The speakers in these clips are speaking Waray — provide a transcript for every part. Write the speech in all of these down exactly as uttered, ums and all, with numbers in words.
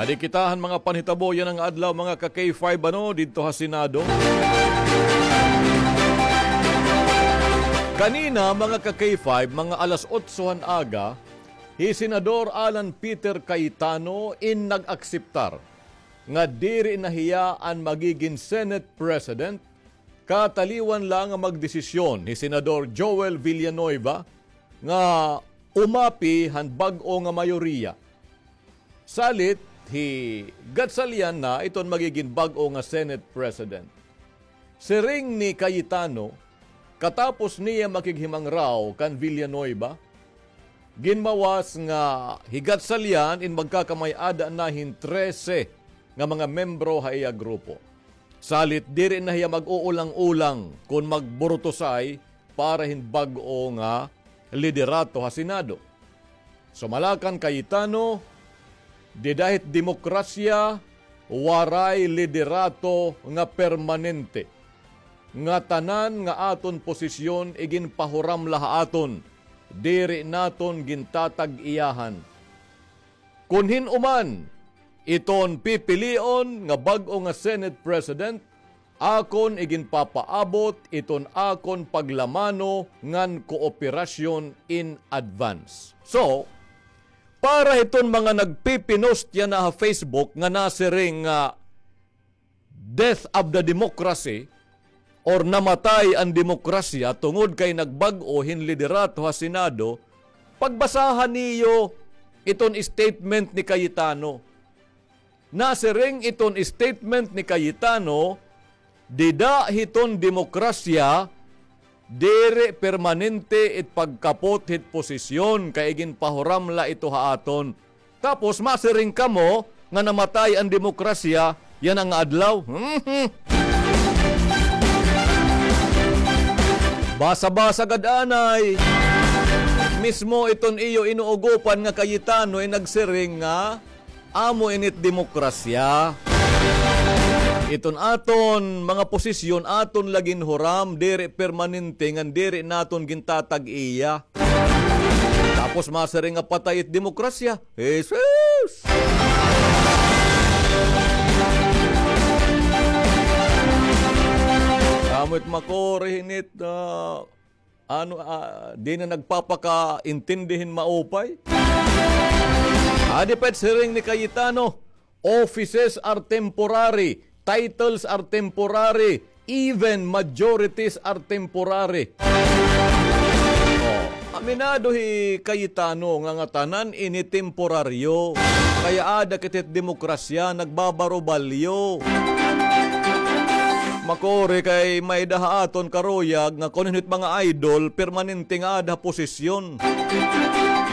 Di kita han mga panhitabo yana nga adlaw, mga ka-K five, ano, didto ha Senado. Kanina, mga ka-K five, mga alas otso han aga, hi Senador Alan Peter Cayetano in nag-akseptar nga diri na hiya an magigin Senate President, kataliwan la nga magdesisyon hi Senador Joel Villanueva nga umapi han bag-o nga mayoriya. Salit, hi Gatchalian na iton magigin bag-o nga Senate President. Siring ni Cayetano, katapos niya makighimangraw kan Villanueva, ginmawas nga hi Gatchalian in magkakamay-ada na hin trese nga mga membro ha iya grupo. Salit, diri na hiya mag-uulang-ulang kon magburutusay para hin bag-o nga liderato ha Senado. Sumala kan Cayetano, dida hit demokrasya, waray liderato nga permanente. Ngatanan nga aton posisyon iginpahuram la ha aton, diri naton gintatag-iyahan. Kon hin-o man iton pipilion nga bag-o nga Senate President, akon iginpapaabot iton akon paglamano ngan kooperasyon in advance. So, para hiton mga nagpipinost yana ha Facebook nga nasiring nga death of the democracy or namatay an demokrasya tungod kay nagbag-o hin liderato ha Senado, pagbasaha niyo iton statement ni Cayetano. Nasiring iton statement ni Cayetano, dida hiton demokrasya, diri permanente it pagkapot hit posisyon kay iginpahuram la ito ha aton. Tapos masiring kamo nga namatay an demokrasya yana nga adlaw. Mhm. Basa-basa gad anay. Mismo iton iyo inuugopan nga Cayetano in nagsiring nga amo ini it demokrasya. Iton aton mga posisyon aton la ginhuram, diri permanente ngan diri naton gintatag-iya. Tapos masiring nga patay it demokrasya. Jesus! Amo it makuri hini it, ah, ano, ah, di na nagpapakaintindi hin maupay. Adi pa it siring ni Cayetano, offices are temporary, titles are temporary, even majorities are temporary. Oh, aminado hi Cayetano nga ngatanan ini temporaryo. Kay aada kita hit demokrasya, nagbabarubalyo. Makuri kay may-ada ha aton karuyag nga kon hin-o it mga idol, permanente nga aada ha posisyon.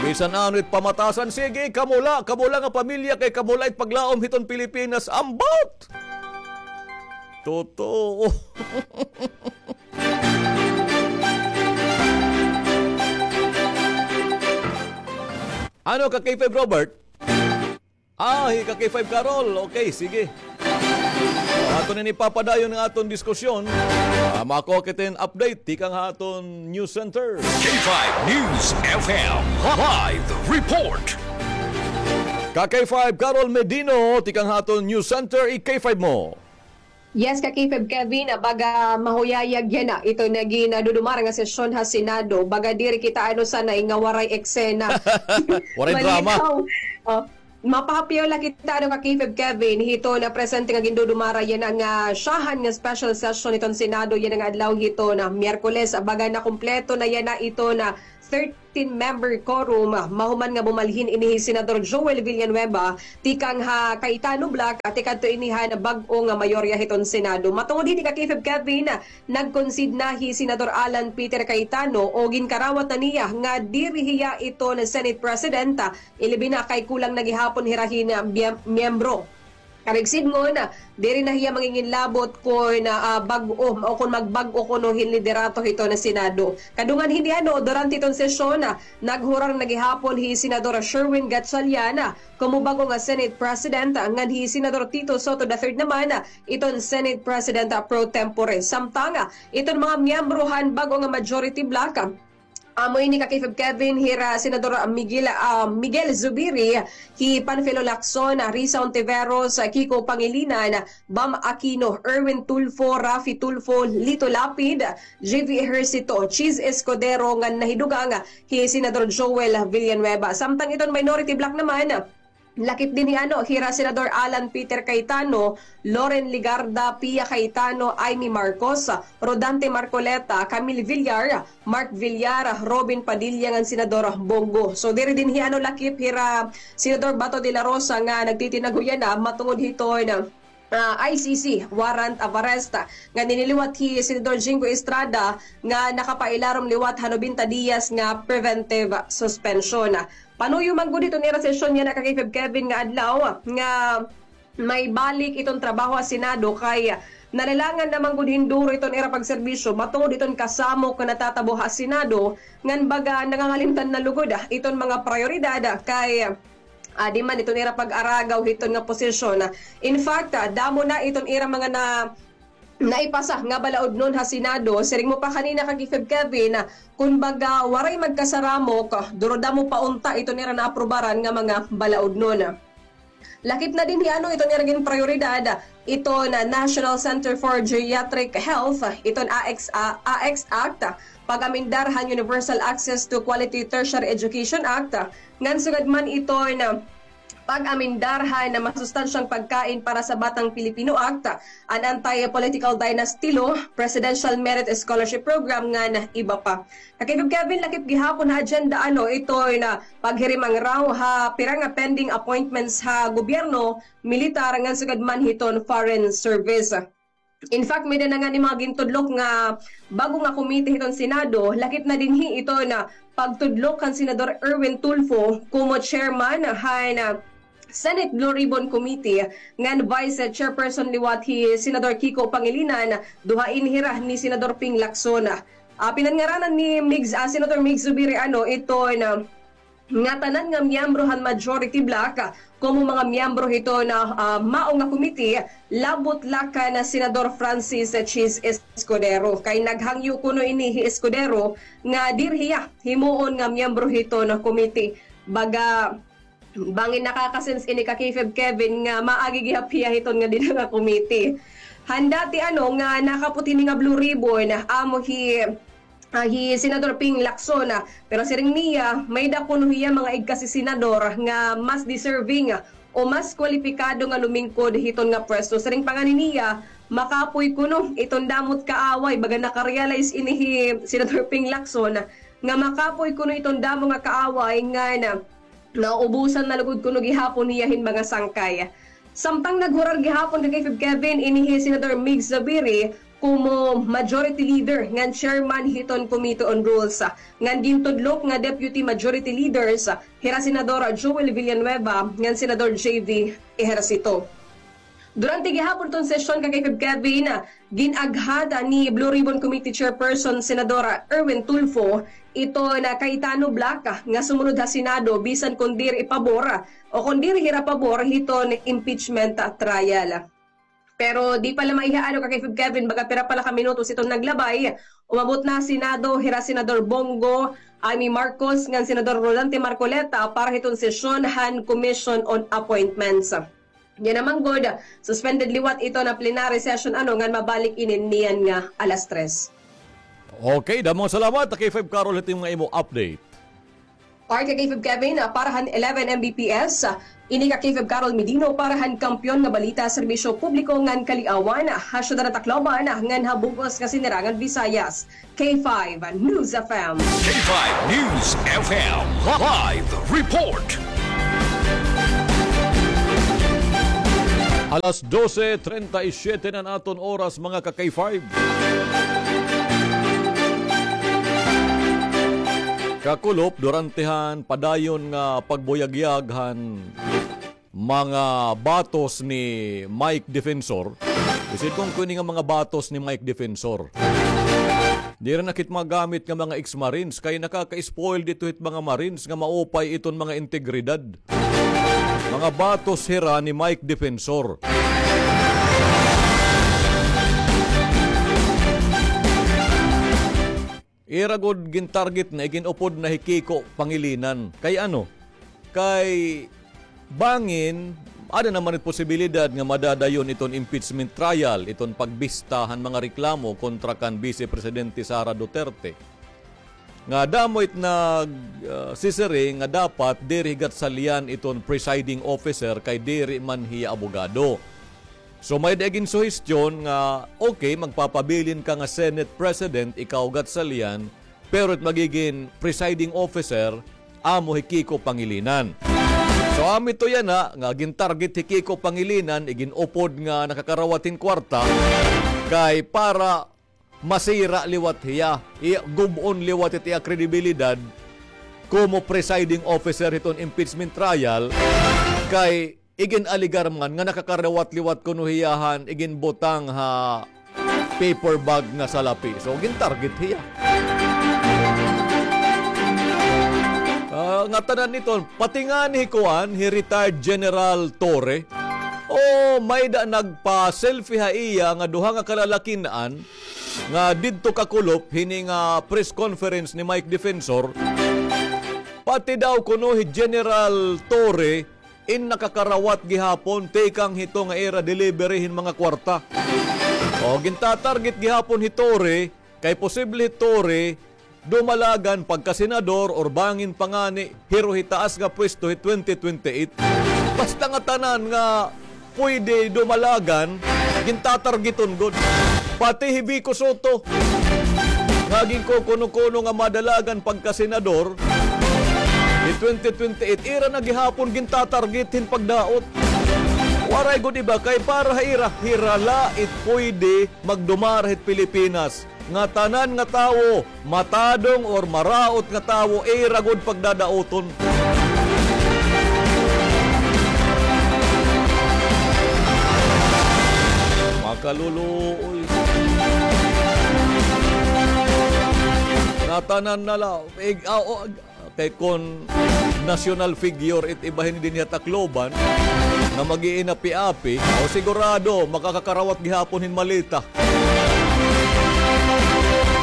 Bisan ano it pamatasan, sige, kamo la, kamo la nga pamilya kay kamo la it paglaom hiton Pilipinas. Ambot! Totoo. Ano ka, K five Robert? Ah, hi ka K five Carol. Okay, sige. Aton ini papadayon nga aton diskusyon. Ah, makuha kita hin update tikang ha aton news center. K five News F M live report. Ka K five Carol Medino, tikang ha aton news center, i K five mo. Yes, ka K five Kevin, ah, baga mahuyayag yana ito nga gindudumara nga sesyon ha Senado. Baga diri kita ano sanay nga waray eksena. Waray drama. Malinaw. Oh, mapahapiyaw la kita ano ka K five Kevin, hito nga presente nga gindudumara yana nga syahan nga special session hiton Senado yana nga adlaw hito nga Miyerkules. Baga nakumpleto na yana ito nga thirteen member quorum, ah, mahuman nga bumalhin ini hi Senador Joel Villanueva tikang ha Cayetano bloc, ah, tikadto ini han bag-o nga mayorya hiton Senado. Matungod hini ka K five Kevin, ah, nag-concede na hi Senador Alan Peter Cayetano o ginkarawat na niya nga diri hiya ito nga Senate President, ah, ilabi na kay kulang na gihapon hira hin, ah, biyem-, miyembro. Karuyag sidngon, diri na hiya manginginlabot kon, ah, bag-o o kon magbag-o kuno hin liderato hiton Senado. Kadungan hini ano, durante hiton sesyon, ah, naghurar na gihapon hi Senador Sherwin Gatchalian, ah, komo bag-o nga Senate President, ah, ngan hi Senador Tito Sotto the third naman, ah, iton Senate President, ah, pro tempore. Samtang, ah, iton mga miyembro han bag-o nga majority bloc, ah, Amo ini ka K five Kevin, hira Senador Miguel, ah, Miguel Zubiri, hi Panfilo Lacson, Risa Ontiveros, Kiko Pangilinan, Bam Aquino, Erwin Tulfo, Raffy Tulfo, Lito Lapid, J V Ejercito, Chiz Escudero, ngan nahidugang hi Senador Joel Villanueva. Samtang iton minority bloc naman, lakip dinhi ano, hira Senador Alan Peter Cayetano, Loren Legarda, Pia Cayetano, Imee Marcos, Rodante Marcoleta, Camille Villar, Mark Villar, Robin Padilla ngan Senador Bong Go. So diri dinhi ano lakip hira Senador Bato de la Rosa nga nagtitinaguya na matungod hiton, ah, I C C warrant of arrest nga nililiwat hi Senador Jinggoy Estrada nga nakapailarom liwat ha nobenta diyas nga preventive suspension. Panuyo man gud hiton ira sesyon yana ka K five Kevin nga adlaw nga may balik iton trabaho ha Senado kay nalalangan naman gud hin duro iton ira pagserbisyo matungod iton kasamok nga natatabo ha Senado ngan baga nangangalimtan na lugod, ah, iton mga prayoridad, ah, kay, ah, di man iton ira pag-aragaw hiton nga posisyon. In fact, ah, damo na iton ira mga na naipasa nga balaudnon ha Senado. Siring mo pa kanina ka K five Kevin, kun baga waray magkasaramok, duro damo pa unta iton ira naaprubaran nga mga balaudnon. Lakip na dinhi ano iton ira ginprayoridad, iton National Center for Geriatric Health, iton A X, A X Act, pag-amendar han Universal Access to Quality Tertiary Education Act, ngan sugad man iton pag-amendar han masustansyang pagkain para sa batang Pilipino Act, an Anti-Political Dynasty Law, Presidential Merit Scholarship Program, ngan iba pa. Ka K five Kevin, lakip gihapon ha agenda ano iton paghirimang raw ha pira nga pending appointments ha gobyerno, militar, ngan sugad man hiton foreign service. In fact, may-ada na ngani mga gintudlok nga bag-o nga komite hiton Senado, lakip na dinhi iton pagtudlok kan Senador Erwin Tulfo komo chairman han Senate Blue Ribbon Committee, ngan vice chairperson liwat hi Senador Kiko Pangilinan, duha ini hira ni Senador Ping Lacson. Ah, pinanngaranan ni Migs, ah, Senator Migs Zubiri ano iton ngatanan nga miyembro han majority bloc, ah, komo mga miyembro hiton, ah, mao nga komite, labot la kan Senador Francis Chiz Escudero. Kay naghangyo kuno ini hi Escudero nga diri hiya himuon nga miyembro hiton komite. Baga, bangin nakaka-sense ini ka K five Kevin nga maagi gihap hiya hiton nga dida nga komite. Han dati ano nga nakapot hini nga Blue Ribbon, amo hi, ah, hi Senador Ping Lacson, ah, pero siring niya, may-ada kuno hiya mga igkasi senador nga mas deserving, ah, o mas kwalipikado nga lumingkod hiton nga pwesto. Siring pa ngani niya, makapoy kuno iton damo nga kaaway, baga naka-realize ini hi Senador Ping Lacson nga makapoy kuno iton damo nga kaaway ngan nauubusan na lugod kuno gihapon hiya hin mga sangkay. Samtang naghurar gihapon ka K five Kevin ini hi Senador Migs Zubiri komo majority leader ngan chairman hiton Committee on Rules, ngan gintudlok nga deputy majority leaders hira Senador Joel Villanueva ngan Senador J V Ejercito. Durante gihapon iton sesyon ka K five Kevin, gin-aghat ni Blue Ribbon Committee Chairperson Senador Erwin Tulfo iton Cayetano bloc nga sumunod ha Senado bisan kon diri pabor o kon diri hira pabor hiton impeachment trial. Pero di pa la maiha ano ka K five Kevin, baga pira pa la ka minutos iton naglabay, umabot na ha Senado hira Senador Bong Go, Imee Marcos ngan Senador Rodante Marcoleta para hiton sesyon han Commission on Appointments. Yana man gud, suspended liwat iton plenary session ano ngan mabalik ini niyan nga alas tres. Okay, damo nga salamat, K five Carol, hito nga imo update. Para ka K five Kevin, ah, para han eleven M B P S, ah, ini ka K five Carol Medino para han Kampiyon nga Balita, Serbisyo Publiko ngan Kaliawan, ah, ha syudad han Tacloban, ah, ngan ha bug-os nga sinirangan Visayas. K five News F M. K five News F M live report. Alas dose treinta y siete na an aton oras, mga ka K five. Kakulop, durante han padayon nga pagbuyagyag han mga batos ni Mike Defensor. Isin kon kuno ini nga mga batos ni Mike Defensor, diri na kit magamit nga mga ex-marines, kay nakaka-spoil dito hit mga marines nga maupay iton mga integridad. Mga batos hira ni Mike Defensor. Ira gud gintarget na, igin-upod na hi Kiko Pangilinan. Kay ano? Kay bangin, ada naman it posibilidad nga madadayon iton impeachment trial, iton pagbista han mga reklamo kontra kan Vice Presidente Sara Duterte. Nga damo it nag, ah, sisiring nga dapat diri hi Gatchalian iton presiding officer kay diri man hiya abogado. So, may-ada ginsuhestyon nga, okay, magpapabilin ka nga Senate President, ikaw, Gatchalian, pero it magigin presiding officer, amo hi Kiko Pangilinan. So, amo ito yana, nga gintarget hi Kiko Pangilinan, igin-upod nga nakakarawat hin kwarta, kay para masira liwat hiya, iya, gub-on liwat it iya kredibilidad komo presiding officer hiton impeachment trial, kay igin-alegar man nga nakakarawat liwat kuno hiya han iginbutang ha paper bag nga salapi. So, gintarget hiya. Ah, ngatanan iton, pati ngani hi kuan, hi retired General Torre. O, may-ada nagpa-selfie ha iya nga duha nga kalalakin-an nga didto kakulop hini nga press conference ni Mike Defensor. Pati daw kuno hi General Torre in nakakarawat gihapon tikang hito nga ira delivery hin mga kwarta. O, gintatarget gihapon hi Torre, kay posible hi Torre dumalagan pagkasenador or bangin pa ngani hiro hi taas nga pwesto hi twenty twenty-eight. Basta ngatanan nga pwede dumalagan, gintatargeton gud. Pati hi Vico Sotto, nga ginkukuno-kuno nga madalagan pagkasenador, hi twenty twenty-eight, ira na gihapon gintatarget hin pagdaot. Waray gud iba kay para ha ira, hira la it pwede magdumara hit Pilipinas. Ngatanan nga tawo, matadong or maraot nga tawo, ira gud pagdadaoton. Makaluluoy. Ngatanan na la, ig-, ah, oh, kay kon national figure it iba hini dinhi ha Tacloban nga mag-iinapi-api, o sigurado makakakarawat gihapon hin maleta.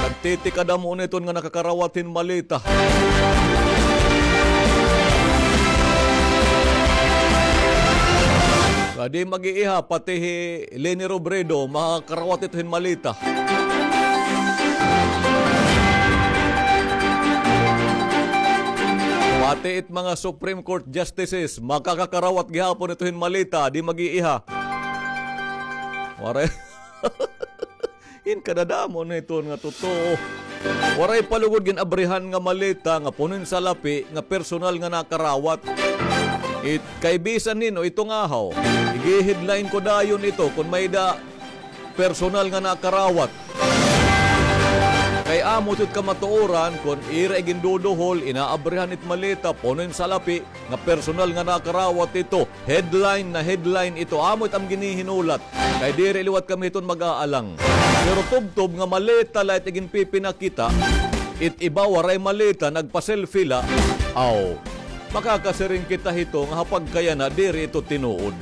Nagtitikadamo na iton nga nakakarawat hin maleta. Kadi mag-iiha, pati hi Leni Robredo, makakarawat ito hin maleta. Pati it mga Supreme Court Justices, makakakarawat gihapon ito hin maleta, di mag-iiha. Waray. In kadadamo na ito nga totoo. Waray pa lugod gin-abrihan nga maleta nga puno hin salapi nga personal nga nakarawat. It, kay bisan hin-o ito nga haw. Igi-headline ko dayon ito kon may-ada personal nga nakarawat. Kay amo ito it kamatuoran kon ira iginduduhol, inaabrihan it maleta, puno hin salapi, nga personal nga nakarawat ito. Headline na headline ito. Amo it am ginihinulat. Kay diri liwat kami hiton mag-aalang. Pero tubtob nga maleta la it iginpipinakita, it iba waray maleta, nagpa-selfie la. Aw, makakasiring kita hito nga ha pagkayana diri ito tinuod.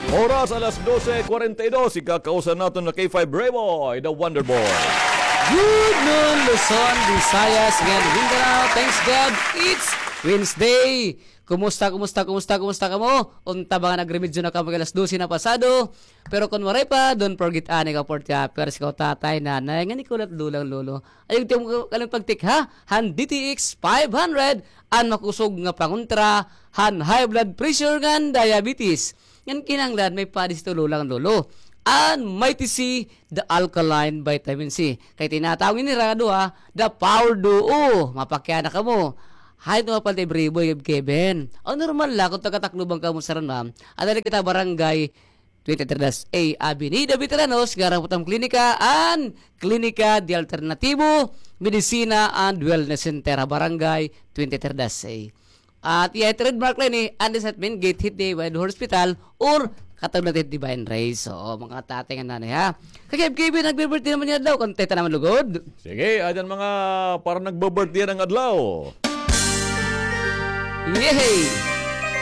Oras alas dose cuarenta y dos, ikakausa naton na K five Rayboy, the Wonder Boy. Good noon, Luzon, Visayas, ngan Mindanao. Thanks God, it's Wednesday. Kumusta, kumusta, kumusta, kumusta kamo? Unta ba nga nagremedyo na kamo kay alas dose na pasado? Pero kon waray pa, don't forget ani ka forty hours, ikaw tatay, nanay, ngan ikaw la it lola ngan lolo. Ayaw tiyo mo kalimot pagtikha han D T X five hundred, an makusog nga pangontra han high blood pressure ngan diabetes. Ngan kinahanglan may padis ito, lola ngan lolo. An Mighty C, the alkaline vitamin C. Kay tinatawag nira nga duha, the power duo. Mapakiana kamo. Hay, ito nga pala, Ibriboy, Kevin. Ang normal la, kung taga-Tacloban kamo sa ran, ma'am. Adali kita barangay twenty-three dash A, Avenida Veteranos, nga harap hit am klinika, an Klinika de Alternativo, Medicina and Wellness Center, ha Barangay twenty-three dash A. At iya it trademark la ini, an design main gate hit di White Hospital, or katulad hit Divine Rays. So, mga tatay ngan nanay, ha. Kay Kevin, nagbe-birthday naman niya daw, kantay ta naman lugod. Sige, ayan mga para nagbe-birthday ng adlaw. Yehey!